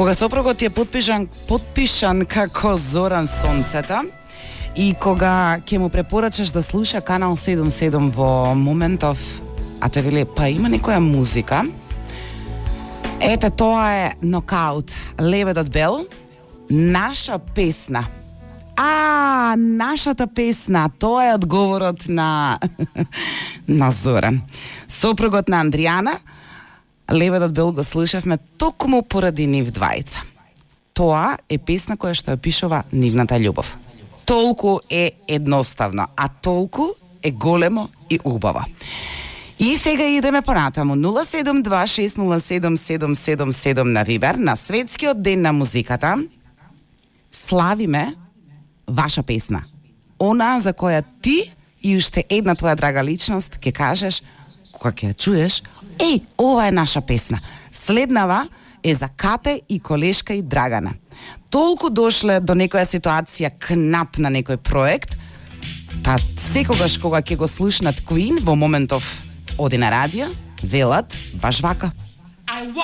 Кога сопругот е подпишан како Зоран Сонцета и кога ќе му препорачаш да слуша Канал 77 во моментов, а тој вели, па има некоја музика. Ете, тоа е Нокаут, Лебедот Бел, наша песна. Нашата песна, тоа е одговорот на Зоран. Сопругот на Андријана, Лебедот Бел го слушавме токму поради нив двајца. Тоа е песна која што ја пишува нивната љубов. Толку е едноставно, а толку е големо и убаво. И сега идеме понатаму. 072607777 на Вибер, на Светскиот ден на музиката. Славиме ваша песна. Она за која ти и уште една твоја драга личност ќе кажеш, кога ќе ја чуеш, ова е наша песна. Следнава е за Кате и колешка и Драгана. Толку дошле до некоја ситуација кнап на некој проект, па секогаш кога ќе го слушнат Queen во моментов оди на радио, велат баш вака.